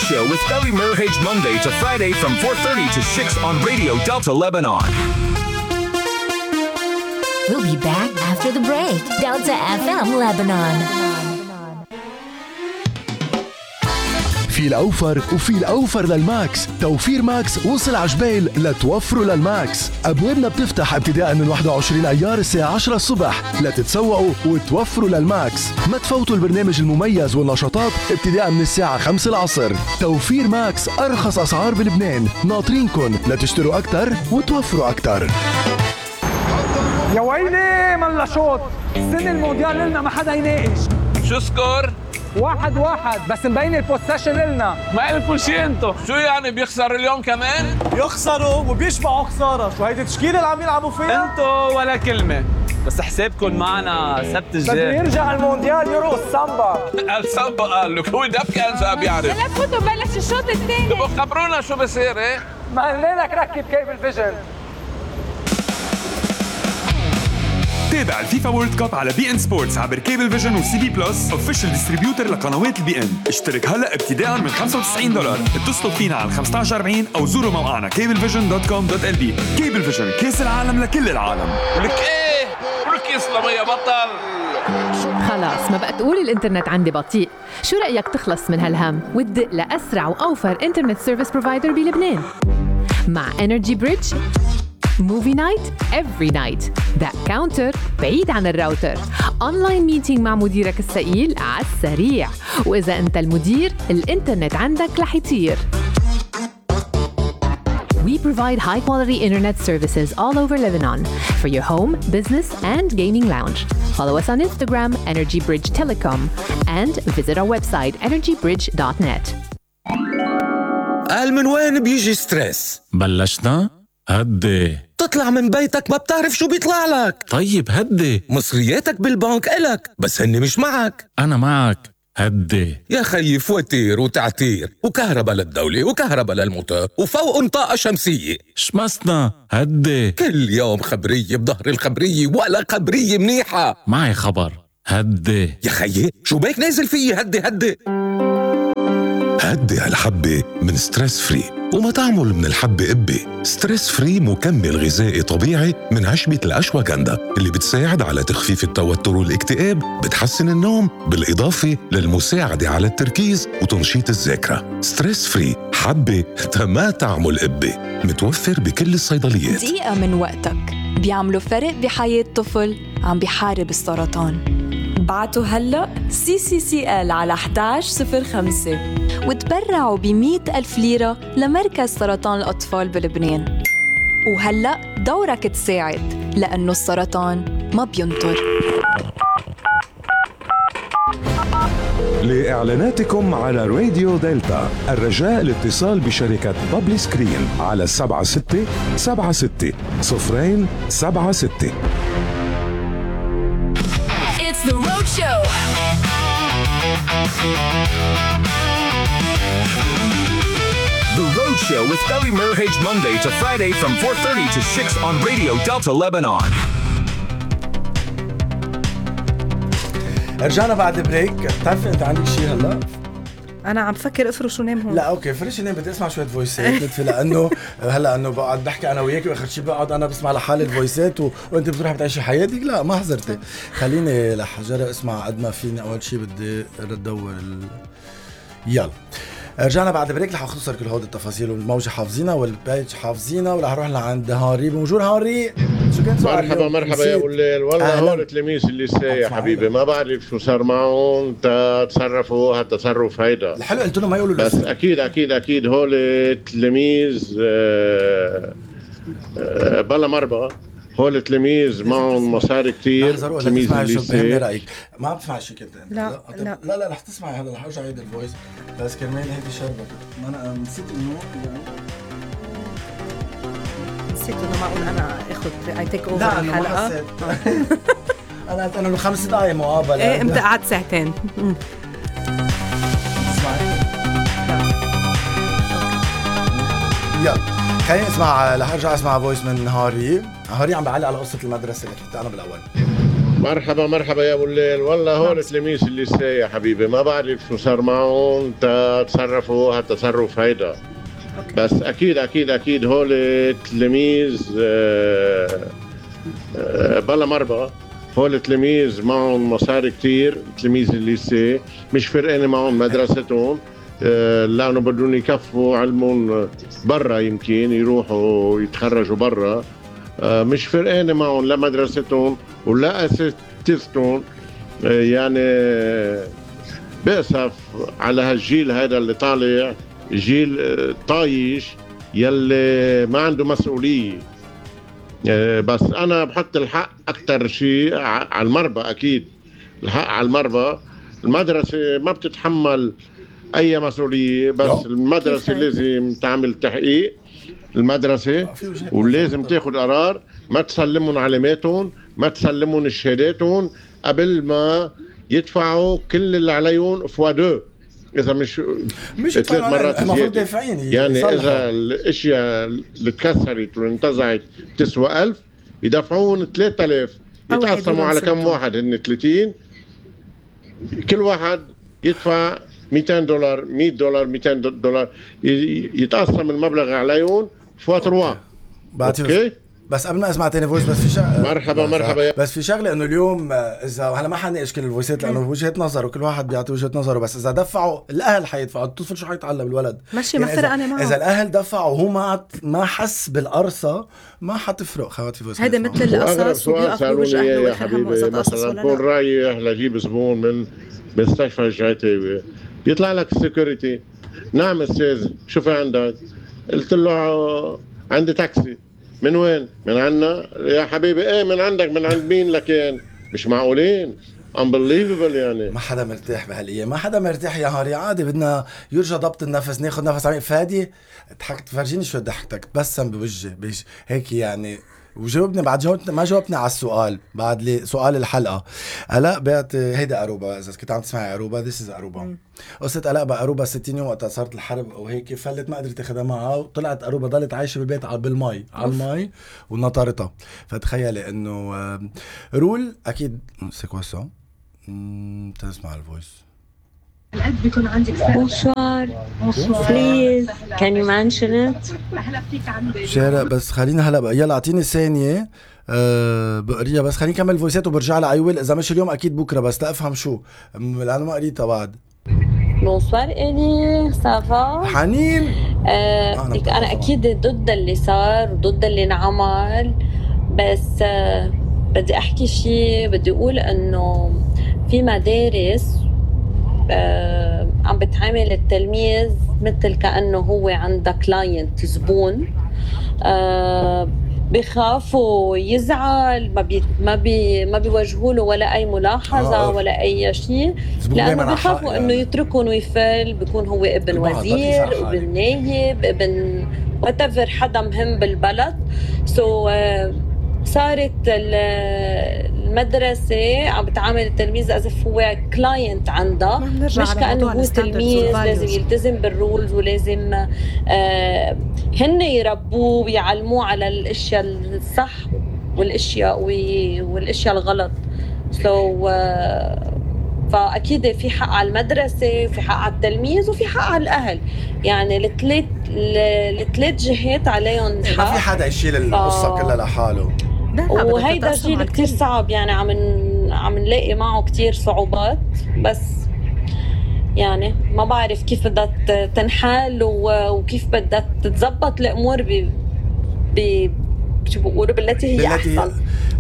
Show with Ellie Merhage Monday to Friday from 4:30 to 6 on Radio Delta Lebanon. We'll be back after the break. Delta FM Lebanon. في الأوفر وفي الأوفر للماكس. توفير ماكس وصل عجبيل لتوفروا للماكس. أبوابنا بتفتح ابتداء من 21 أيار الساعة 10 الصبح لتتسوقوا وتوفروا للماكس. ما تفوتوا البرنامج المميز والنشاطات ابتداء من الساعة 5 العصر. توفير ماكس، أرخص أسعار بلبنان. ناطرينكن لتشتروا أكتر وتوفروا أكتر. يا ويلي ملا شوط. السنة المونديال لنا ما حدا يناقش. شو سكور؟ 1-1 بس مبين البوسيشن لنا. ما قلتوا شي انتو. شو يعني بيخسر اليوم كمان؟ يخسروا وبيشبعوا خسارة. شو هيدي التشكيلة اللي عم يلعبوا فيها؟ انتو ولا كلمة، بس حسابكم معنا سبت الجاي. بده يرجع المونديال يرقص سامبا. السامبا قال لك هو دب كان جاب بيعرف. لا تفوتوا بلش الشوط الثاني. تبقوا خبرونا شو بصير ايه؟ ما قلنا لك ركب كيبل فيجن. تابع الفيفا وورلد كاب على بي ان سبورتس عبر كيبل فيجن وسي بي بلس اوفيشال ديستريبيوتر لقنوات البي ان. اشترك هلا ابتداء من $95. اتصلوا فينا على 1540 او زوروا موقعنا cablevision.com.lb. كيبل فيجن، كاس العالم لكل العالم. ولك ايه؟ ولك يسلم يا بطل. خلاص ما بقى تقول الانترنت عندي بطيء. شو رأيك تخلص من هالهم وتدق لأسرع وأوفر انترنت سيرفيس بروفايدر بلبنان مع انرجي بريدج؟ موفي نايت every night. that counter بعيد عن الراوتر. اونلاين ميتينج مع مديرك الثقيل على السريع. واذا انت المدير الانترنت عندك رح يطير. We provide high-quality internet services all over Lebanon for your home, business, and gaming lounge. Follow us on Instagram, Energy Bridge Telecom, and visit our website, energybridge.net. قال من وين بيجي ستريس؟ بلشنا؟ هدي. تطلع من بيتك ما بتعرف شو بيطلع لك. طيب هدي. مصرياتك بالبنك إلك بس هني مش معك. أنا معك. هدي يا خيي، فواتير وتعتير وكهرباء للدولة وكهرباء للموتور وفوق طاقة شمسية. شمسنا. هدي كل يوم خبرية بظهر الخبرية ولا خبرية منيحة. معي خبر. هدي يا خيي، شو بيك نازل فيي؟ هدي هدي هدي هالحبة من ستريس فري. وما تعمل من الحبة قبة. ستريس فري مكمل غذائي طبيعي من عشبة الأشواغندا اللي بتساعد على تخفيف التوتر والاكتئاب، بتحسن النوم، بالإضافة للمساعدة على التركيز وتنشيط الذاكرة. ستريس فري حبة ما تعمل قبة، متوفر بكل الصيدليات. دقيقة من وقتك بيعملوا فرق بحياة طفل عم بيحارب السرطان. بعتوا هلأ CCCL على 1105 وتبرعوا ب100,000 ليرة لمركز سرطان الأطفال بلبنان. وهلأ دورك تساعد، لأنه السرطان ما بينطر. لإعلاناتكم على راديو دلتا الرجاء الاتصال بشركة بابلي سكرين على 7676 It's the Road Show. The Road Show with Ellie Merhage Monday to Friday from 4:30 to 6 on Radio Delta Lebanon. رجعنا بعد بريك. بتعرف انت عندك شيء هلا؟ انا عم فكر افرش ونام هون. لا اوكي، فرش ونام. بدي اسمع شويه فويسات لطفي، لانه هلا انه بقعد بحكي انا وياك واخر شيء بقعد انا بسمع لحالي الفويسات وانت بتروح بتعيشي حياتك. لا ما حضرتي. خليني لحجرة اسمع قد ما فيني. اول شيء بدي ادور يلا. رجعنا بعد بريك. رح اختصر كل هود التفاصيل والموجة حافظينها والبيج حافظينها. ورح نروح لعند هاري. بونجور هاري. شو كان سؤال؟ مرحبا يا وليل. والله هون التلاميذ اللي يا حبيبي ما بعرف شو صار معهم. تصرفوا هالتصرف هيدا الحلو. قلت لهم ما يقولوا بس اكيد هول التلاميذ بلا مربى. هول التلاميذ معهم مصاري كتير. تلاميذ اللي رايك ما بتسمع شيء كنت انت؟ لا رح تسمعي هذا. رح ارجع اعيد الفويس بس كرمال هيدي شربت. ما انا نسيت انه معقول انا اخذ اي تيك اوفر لا الحلقه. انا قلت انه 5 دقائق مقابله. ايه امتى قعدت ساعتين. يلا خليني اسمع. رح ارجع اسمع فويس من هاري. عم بعلق على قصه المدرسه اللي حكيتها انا بالاول. مرحبا يا ابو الليل. والله هول تلاميذ الليسيه يا حبيبي، ما بعرف شو صار معهم، تصرفوا هالتصرف هيدا. بس اكيد هول تلاميذ بلا مربى. هول تلاميذ معهم مصاري كتير، تلاميذ الليسيه مش فرقانه معهم مدرستهم، لانه بدهم يكفوا علمهم برا، يمكن يروحوا يتخرجوا برا. مش فرقانه معهم لا مدرستهم ولا اساتذتهم. يعني بأسف على هالجيل هذا اللي طالع، جيل طايش يلي ما عنده مسؤوليه. بس انا بحط الحق اكتر شيء على المربى. اكيد الحق على المربى. المدرسه ما بتتحمل اي مسؤوليه، بس المدرسه لازم تعمل تحقيق المدرسه، ولازم تاخذ قرار ما تسلمهم علاماتهم، ما تسلمهم شهاداتهم قبل ما يدفعوا كل اللي عليهم فوا 2، اذا مش 3 مرات زياده. يعني اذا الاشياء اللي تكسرت وانتزعت تسوى 1000 يدفعون 3000. يتقسموا على كم واحد؟ هن 30، كل واحد يدفع $200 $100 $200، يتقسم المبلغ عليهم فوا 3. اوكي. بس قبل ما اسمع تاني فويس، بس في شغله. مرحبا. بس في شغله انه اليوم اذا هلا ما حنناقش كل الفويسات لانه وجهه نظر وكل واحد بيعطي وجهه نظره، بس اذا دفعوا الاهل حيدفعوا، الطفل شو حيتعلم الولد؟ ماشي ما فرق انا معه. اذا الاهل دفعوا وهو ما حس بالقرصه ما حتفرق. خوات في فويس هيدا مثل القصص وبيوقف بوجه اهله يا حبيبي. مثلا بكون رايح لجيب زبون من مستشفى الجعتاوي، بيطلع لك السكيورتي، نعم استاذ شو في عندك؟ قلت له عندي تاكسي. من وين؟ من عنا يا حبيبي. ايه من عندك؟ من عند مين لكن؟ مش معقولين. unbelievable. يعني ما حدا مرتاح بهالايام، ما حدا مرتاح يا هاري. عادي بدنا يرجع ضبط النفس، ناخذ نفس عميق. فادي ضحكت، فرجيني شو ضحكتك، تبسم بوجهي هيك يعني. وجاوبني بعد ما جاوبني على السؤال بعد سؤال الحلقه. الاء بعت هيدا اروبا، اذا كنت عم تسمعي اروبا، ذيس از اروبا. قصه الاء باروبا 60 يوم وقت صارت الحرب وهيك فلت، ما قدرت تاخذها معها وطلعت اروبا ضلت عايشه بالبيت على المي ونطرتها. فتخيلي انه رول اكيد سيكواسون. تسمع الفويس. القد بيكون عندك Bonsoir. Please can you mention it؟ شارع بس خلينا هلا بقى. يلا اعطيني ثانية بقريها، بس خليني كمل فويسات وبرجع لها. ايويل اذا مش اليوم اكيد بكره، بس تفهم شو لانه ما قريتها بعد. Bonsoir إلي صافا حنين. أنا أكيد ضد اللي صار وضد اللي انعمل، بس بدي أحكي شيء. بدي أقول إنه في مدارس عم بتعامل التلميذ مثل كأنه هو عنده كلاينت، زبون. بيخافوا يزعل، ما بيوجهوا له ولا أي ملاحظة ولا أي شيء، لأنه بيخافوا إنه يتركون ويفل. بيكون هو ابن وزير، ابن نايب، ابن whatever، حدا مهم بالبلد. صارت المدرسة عم بتعامل التلميذ as if هو كلاينت عندها، مش كأنه هو تلميذ لازم يلتزم بالرولز، ولازم هن يربوه ويعلموه على الاشياء الصح والاشياء الغلط. فأكيد في حق على المدرسة، في حق على التلميذ، وفي حق على الأهل. يعني الثلاث جهات عليهم حق. ما في حدا يشيل القصة كلها لحاله. وهيدا جيل كتير صعب، يعني عم نلاقي معه كتير صعوبات. بس يعني ما بعرف كيف بدها تنحل وكيف بدها تتزبط الأمور شو بقولوا بالتي هي أحسن.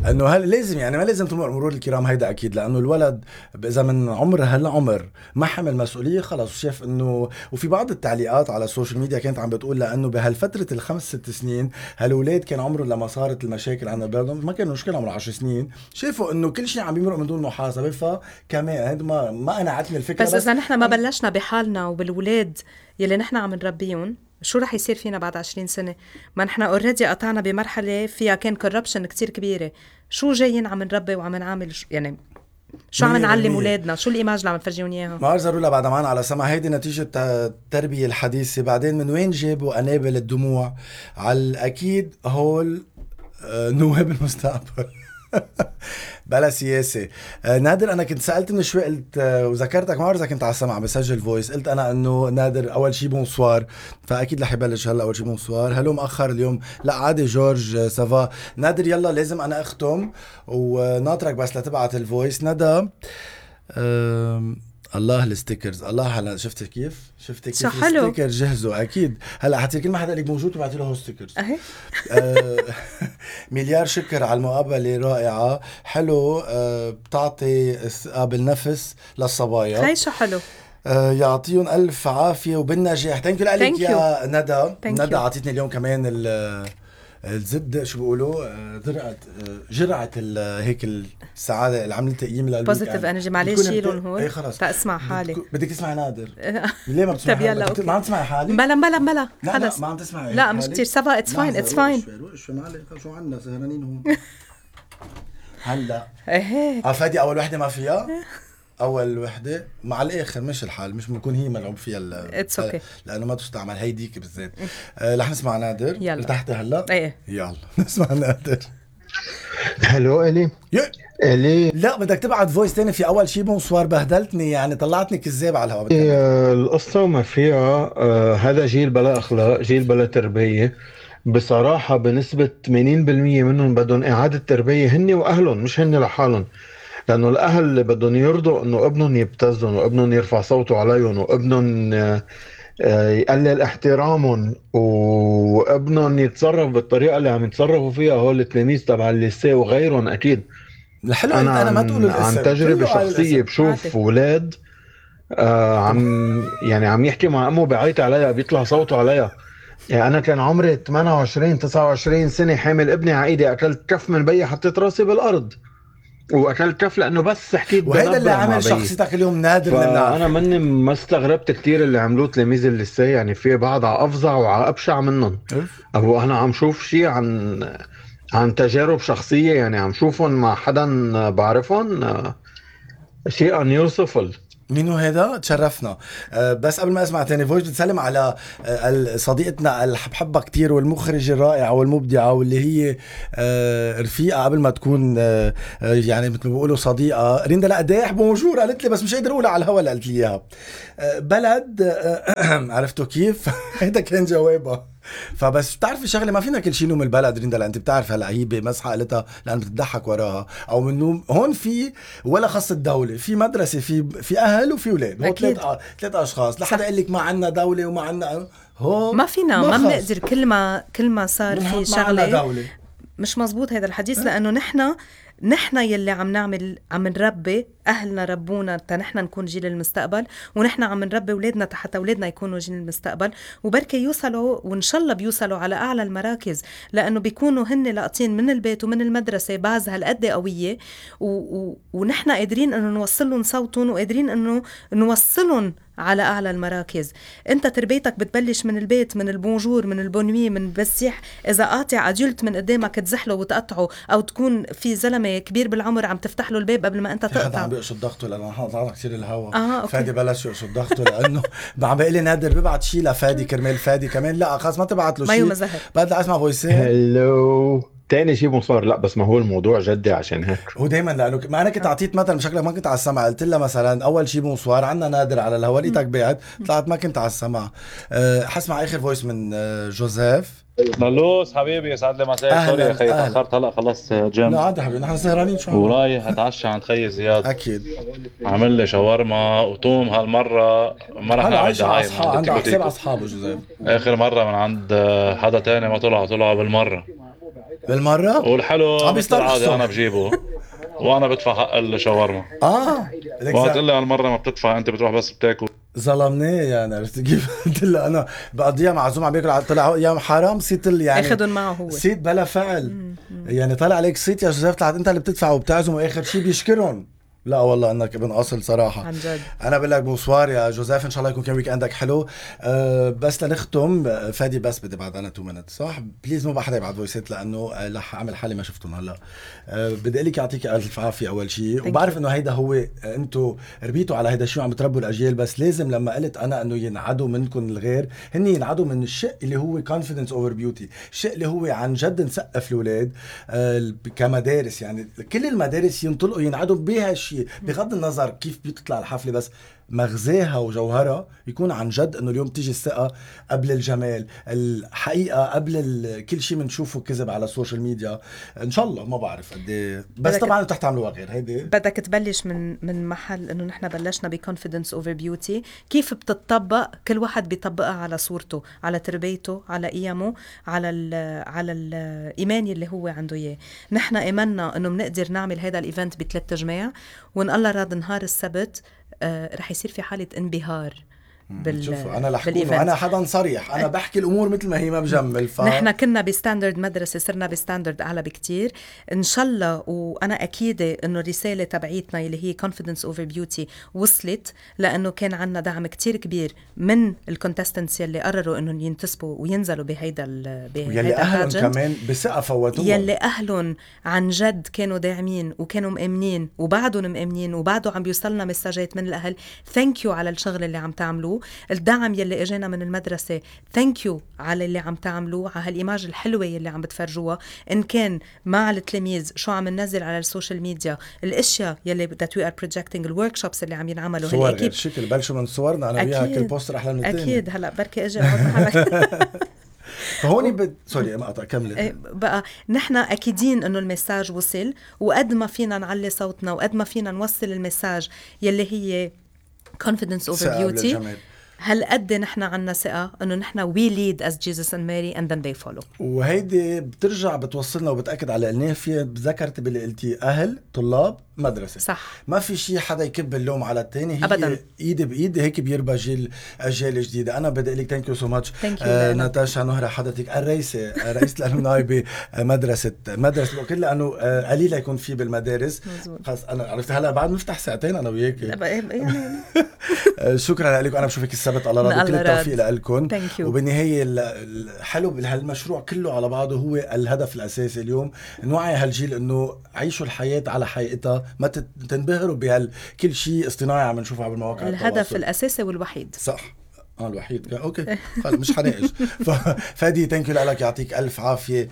انه هل لازم يعني ما لازم تمر مرور الكرام هيدا اكيد، لانه الولد اذا من عمر هالعمر ما حمل مسؤوليه خلص شاف انه. وفي بعض التعليقات على السوشيال ميديا كانت عم بتقول لانه بهالفتره ال5-6 سنين هالولاد كان عمرهم لما صارت المشاكل عند بلدهم ما كان مشكله عمره 10 سنين، شافوا انه كل شيء عم بيمرق من دون محاسبه. فكمان هيدا ما انا عتني الفكره. بس اذا نحن ما بلشنا بحالنا وبالولاد يلي نحن عم نربيهم، شو رح يصير فينا بعد 20 سنة؟ ما نحن اوريدي قطعنا بمرحلة فيها كان كوربشن كتير كبيرة. شو جايين عم نربي وعم نعمل يعني شو عم نعلم اولادنا؟ شو الايماج اللي عم نفرجيهم اياها؟ ما ضروري بعد معنا على سمع. هيدي نتيجة التربية الحديثة. بعدين من وين جابوا قنابل الدموع؟ على اكيد هول نواب المستقبل. بلا سياسة. نادر أنا كنت سألت من شوي قلت وذكرتك ما إذا كنت على السمع بسجل فويس، قلت أنا إنه نادر أول شي بونسوار، فأكيد رح يبلش هلا. أول شي بونسوار، هلو مأخر اليوم؟ لا عادي جورج سافا. نادر يلا لازم أنا أختم وناطرك بس لتبعت الفويس. ندى الله الستيكرز، الله هلا شفتي كيف الستيكر جهزوا اكيد. هلا حتى كل ما حدا لك موجود وبعتي له ستيكرز. مليار شكر على المقابله رائعه، حلو. بتعطي بالنفس للصبايا. هاي شو حلو. يعطيهم الف عافيه وبالنجاح. ثانك يو لك يا ندى. عطيتني اليوم كمان الزد شو بيقولوا جرعة هيك السعادة اللي عملت تقييم للقلب بوزيتيف انرجي. معلش شيلون هون. اي خلص تسمع حالي. بدك تسمعي نادر. ليه ما بتسمعي حالي؟ ما عم تسمعي حالي؟ بلا خلص. ما عم تسمعي. لا مش كتير. سافا اتس فاين اتس فاين. شو عنا سهرانين هون. هلا فادي اول وحدة ما فيها. اول وحده مع الاخر مش الحال، مش بنكون هي ملعوب فيها لانه ما تستعمل هيديك بالذات. رح نسمع نادر. ارتحتي هلا؟ ايه يلا نسمع نادر. هلو الي لا بدك تبعت فويس تاني. في اول شي بونسوار بهدلتني يعني طلعتني كذاب على الهواء. القصه وما فيها. هذا جيل بلا اخلاق، جيل بلا تربيه بصراحه. بنسبه 80% منهم بدهم اعاده تربيه، هن واهلهم مش هن لحالهم. لأنه الأهل اللي بدهم يرضوا إنه ابنهم يبتزهم وابنهم يرفع صوته عليهم وابنهم يقلل احترامهم وابنهم يتصرف بالطريقة اللي عم يتصرفوا فيها هول التلاميذ تبع الليسيه وغيرهم. أكيد الحلو أنا ما تقول عن تجربة شخصية بشوف أولاد عم يحكي مع أمه بعيط عليها، بيطلع صوته عليها. يعني أنا كان عمري 28-29 سنة حامل ابني عايدي، أكلت كف من بي حطيت راسي بالأرض واكلت كف لانه بس حكيت. وهذا اللي عمل شخصيتك اليوم نادر. انا مني ما استغربت كتير اللي عملوه تلاميذ الليسيه. يعني في بعض افظع وابشع منهم. او انا عم شوف شيء عن تجارب شخصيه، يعني عم شوفهم مع حدا بعرفهم، شيء ان يوصفل. مينو هذا؟ تشرفنا. بس قبل ما اسمع تاني فويس بتسلم على صديقتنا اللي بحبها كتير والمخرجة الرائعة والمبدعة واللي هي رفيقة قبل ما تكون يعني مثل ما بيقولوا صديقة. ريندا لا قديح بونجور قالت لي بس مش قادر اقولها على الهوا اللي قالت لي اياها. بلد عرفتوا كيف؟ هيدا كان جوابها. فبس بتعرفي شغله ما فينا كل شيء نوم البلد ريندا، لأ انت بتعرف هلا هي بمسحه قالتها لان بتضحك وراها او من نوم. هون في ولا خص الدوله، في مدرسه، في اهل وفي اولاد. هو ثلاث اشخاص. لحدا يقول لك ما عنا دوله وما عنا هو ما فينا ما بنقدر. كل ما صار في شغله مش مزبوط هذا الحديث. لانه نحن يلي عم نربي أهلنا ربونا نحن نكون جيل المستقبل، ونحن عم نربي أولادنا حتى أولادنا يكونوا جيل المستقبل، وبركة يوصلوا وإن شاء الله بيوصلوا على أعلى المراكز، لأنه بيكونوا هن لاقطين من البيت ومن المدرسة باز هالقد قوية، ونحن قادرين أنه نوصلهم صوتهم وقادرين أنه نوصلهم على أعلى المراكز. أنت تربيتك بتبلش من البيت، من البونجور، من البونوي، من بسيح. إذا قاطع أديولت من قدامك تزحله وتقطعه، أو تكون في زلمة كبير بالعمر عم تفتح له الباب قبل ما أنت تقطع. عم بيقصد ضغطه لأنه حاطط كثير الهواء. فادي بلش يقصد ضغطه لأنه عم بيقلي نادر ببعت شيء لفادي كرمال فادي كمان. لا خلاص ما تبعت له شيء، بدي أسمع فويسين. هلو تاني شيء مصار. لا بس ما هو الموضوع جدي عشان هيك. هو دايما لانه ما انا كنت اعطيت مثلا بشكلك ما كنت على السمع، قلت لها مثلا اول شيء بونسوار عندنا نادر على الهواء، لقيتك بعد طلعت ما كنت على السمع. حسمع اخر فويس من جوزيف. نلوس حبيبي يسعد لي مساك. سوري يا اخي تاخرت، هلا خلص جيم. لا عادي حبيبي نحن سهرانين شو ورايح اتعشى عند خيي زياد. اكيد عمل لي شاورما وطوم. هالمره ما رح نعمل دعايه. عنده حساب اصحابه جوزيف. اخر مره من عند حدا تاني ما طلعوا بالمره. والحلو بالعاده انا بجيبه وانا بدفع حق الشاورما. وقت لي هالمره ما بتدفع انت بتروح بس بتاكل. ظلمناه يعني. عرفت كيف؟ قلت له انا بقضيها معزوم عم بياكل، طلع يا حرام صيت يعني اخذهم معه هو صيت بلا فعل. يعني طلع عليك صيت يا جوزيف، طلعت انت اللي بتدفع وبتعزم واخر شيء بيشكرهم. لا والله انك ابن اصل صراحه عن جد. انا بقول لك بونسوار يا جوزيف، ان شاء الله يكون كان ويك اندك حلو. بس لنختم فادي، بس بدي بعد انا 2 minutes صح؟ بليز مو بقى حدا يبعت فويسات لانه رح اعمل حالي ما شفتهم هلا. بدي اقول لك يعطيك الف عافيه اول شيء، وبعرف انه هيدا هو انتم ربيتوا على هيدا الشيء وعم تربوا الاجيال، بس لازم لما قلت انا انه ينعدوا منكم الغير، هن ينعدوا من الشيء اللي هو confidence over beauty، الشيء اللي هو عن جد نسقف الاولاد كمدارس. يعني كل المدارس ينطلقوا ينعدوا بهالشيء بغض النظر كيف بيطلع الحفلة، بس مغزاها وجوهرها يكون عن جد انه اليوم تيجي الثقة قبل الجمال، الحقيقة قبل كل شيء منشوفه كذب على السوشيال ميديا. ان شاء الله ما بعرف قد بس طبعا رح تعملوها غير هيدي. بدك تبلش من محل انه نحن بلشنا بكونفيدنس اوفر بيوتي، كيف بتطبق كل واحد بيطبقها على صورته، على تربيته، على قيمه، على الايمان اللي هو عنده اياه. نحن ايماننا انه بنقدر نعمل هذا الايفنت ب3 تجماع، وان الله راد نهار السبت رح يصير في حالة انبهار شوفوا انا لحكونه، انا حدا صريح، انا بحكي الامور مثل ما هي، ما بجمل. نحن كنا بستاندرد مدرسه، صرنا بستاندرد اعلى بكتير ان شاء الله. وانا اكيده انه الرساله تبعيتنا اللي هي confidence over beauty وصلت، لانه كان عنا دعم كتير كبير من الكونتستنتس يلي قرروا انهم ينتسبوا وينزلوا بهيدا يلي اهلهم كمان بثقه فوتوها، يلي اهلهم عن جد كانوا داعمين وكانوا مأمنين وبعدهم مأمنين، وبعده عم بيوصلنا مساجات من الاهل ثانك يو على الشغل اللي عم تعملوه، الدعم يلي اجانا من المدرسة ثانك يو على اللي عم تعملوه، على هالإيماج الحلوة يلي عم بتفرجوها، إن كان مع التلاميذ شو عم ننزل على السوشيال ميديا، الاشياء يلي that we are projecting، الوركشوبس اللي عم ينعملوا، صور غير شكل بلشوا من صورنا انا وياها كل بوستر احلى من الثاني. اكيد هلا بركي اجي احط فهوني سوري ما قطع كملت. بقى نحن اكيدين انه المساج وصل، وقد ما فينا نعلي صوتنا وقد ما فينا نوصل المساج يلي هي confidence over beauty، هل قد نحن عنا ثقة انه نحن we lead as Jesus and Mary and then they follow. وهيدي بترجع بتوصلنا وبتأكد على قلناه فيها. ذكرت باللي قلتي أهل طلاب مدرسة، صح، ما في شيء حدا يكب اللوم على التاني، هي أبداً. ايد بايد هيك بيربى أجيال جديدة. انا بدي لك ثانك يو سو ماتش ناتاشا نهرة، حضرتك رئيسة الألومناي بمدرسة بقول لأنه قليل يكون في بالمدارس. خلص انا عرفت هلا بعد نفتح ساعتين انا وياك يعني. شكرا لكم، انا بشوفك السبت الله راضي، كل التوفيق لكم. وبالنهاية الحلو بهالمشروع كله على بعضه هو الهدف الأساسي اليوم، نوعي هالجيل انه عيشوا الحياة على حقيقتها، ما تنبهروا بهالكل شيء اصطناعي عم نشوفه على المواقع الهدف التواصل. الأساسي والوحيد صح الوحيد اوكي مش حناقش. فادي ثانك يو لك، يعطيك الف عافيه.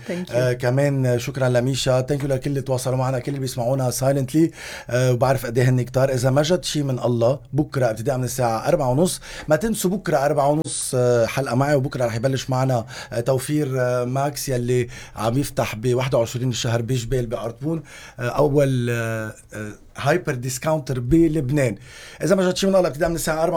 كمان شكرا لميشا، ثانك يو لكل اللي تواصلوا معنا، كل اللي بيسمعونا سايلنتلي، وبعرف قد ايه هن كتار. اذا ما جد شيء من الله بكره ابتداء من الساعه 4:30، ما تنسوا بكره 4:30 حلقه معي، وبكره رح يبلش معنا توفير ماكس يلي عم يفتح ب 21 الشهر بجبال بأرطبون، اول هايبر ديسكاونتر بلبنان. اذا ما جد شيء من الله ابتداء من الساعه 4:30